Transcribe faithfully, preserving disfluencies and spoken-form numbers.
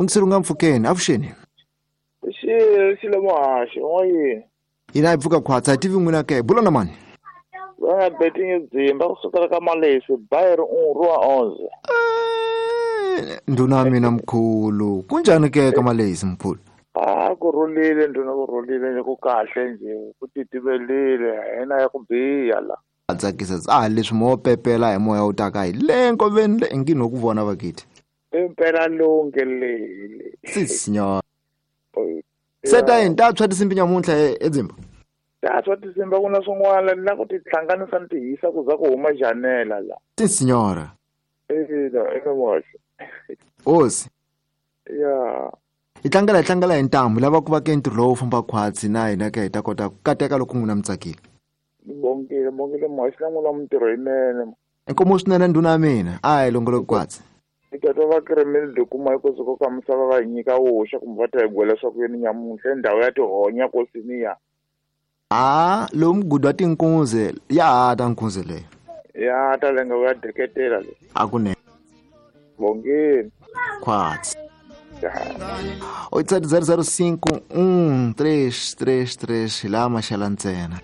Mungiseri nga mpfukeni avuxeni. Xi xi le muhaxi n'wayini. Hina hi pfuka khwatsa hi tivi n'wina ke bula na mani. Va nga betingi dzimba kusukela ka malesi bayeri unru wa onze. Ndhuna ya mina mkhulu kunjani ke ka malesi mkhulu? A ku rhulile ndhuna ku rhulile nje ku kahle nje ku titimelile hina ya ku biha la. A tsakisa a leswi mo pepela hi moya wu taka hi le nkoveni le ingi no ku vona vakithi. Impela lonke le. Si signor. Seta yini ta tshwa tinsimbi nyamuntlha edzimba? Ta tshwa tinsimbi ku na swin'wana na ku tihlanganisa ni tihisa ku za ku huma janela la. Si signora. Ina ina muhaxi. Hosi. Ya. Hi tlangela hi tlangela hi ntambu lava ku va ke ntirho lowu famba khwatsi na hina ke hi ta kota ku kateka loko n'wina mi tsakile. Bongile bongile muhaxi na n'wina mintirho yinene. Inkomu swinene ndhuna ya mina a hi longoloki khwatsi. Eka va kiremeli de kuma iko soko ka misava va nyika woxa kumbe va ta hi gwela swa ku yini nyamuntlha ndhawu ya tihonya kosiniya. A lowu mugudi wa tinkunzi ya ha ta nkunzi leyo. Ya ta lenga ya deketela le. A kunene. Bongile. Khwatsi. oito sete zero zero cinco um três três três lá maxela ntsena.